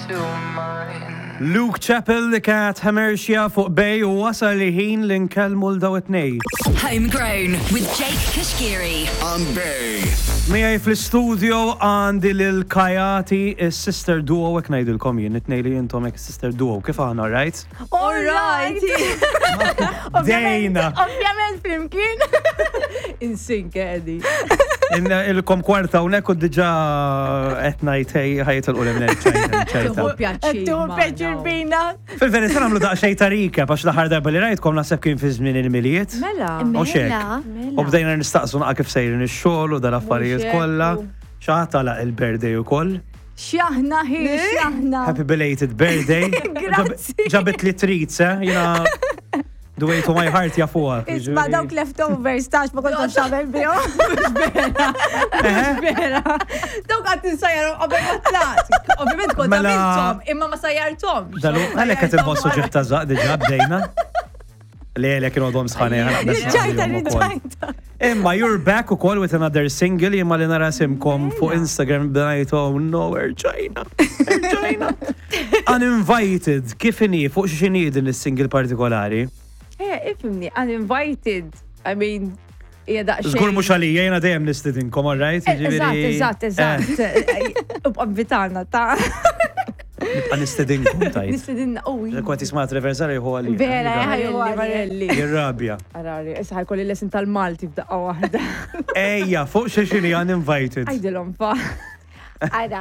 to mine. Luke Chappell li kienet Hamersia fuq Bay u wasal li ħin li nkellmu l daw it-tnej. Homegrown with Jake Kashkiri. On Bay. Miegħi fl-istudio għandi lil Kajati, is-sister duo hekk ngħidilkom jien, it-tnej li intom hekk sister duo, kif aħna, right? All right! Dejna. Ovvjament flimkien. Insink, Eddie. Ilkom kwarta unek u diġa qed ngħid hej ħajtilqu l-imnejn. Tuħu pjaċir. Tuħu pjaċir bina. Fil-verità nagħmlu daqsxejn ta' recap għax l-aħħar darba li rajtkom naħseb kien fi żmien il-Milied. Mela. U xek. U bdejna nistaqsu naqa' kif sejrin ix-xogħol u dal-affarijiet kollha. Xi ħadd għalaq il-birthday ukoll. X'aħna hi, x'aħna. Happy belated birthday. Grazzi. Ġabit li treats, eh? Jina the way to my heart jafuha. Isma dawk leftovers tax ma kontx xamel bihom. Vera. Dawk għat nsajjarom qabel ma tlaqt. Ovvjament kont Mela- għamilthom, imma ma sajjarthomx. Dalu, għalek qed inħossu ġieħ ta' żaq diġà bdejna. Le, le, kienu għadhom sħani. Ġajta, ġajta. Imma you're back ukoll with another single imma li nara simkom fuq Instagram bdejt oh no, erġajna, erġajna. Uninvited, kif inhi, fuq x'inhi din is-single partikolari? Eh, ifimni, uninvited. I mean, hija daqsxejn. Żgur mhux għalija, jiena dejjem nistidinkom, all right? Eh, Eżatt, eżatt, Eh. eżatt. Ubqa invitana ta' Nibqa' nistidinkom tajt. nistidinna u. Kont jisma' Treversari hu għalija. Vera, ħajja, Varelli. Jirrabja. Arari, issa ħajkolli lesin tal-Malti f'daqqa waħda. Ejja, fuq xi xini uninvited. Għajdilhom fa. Ara,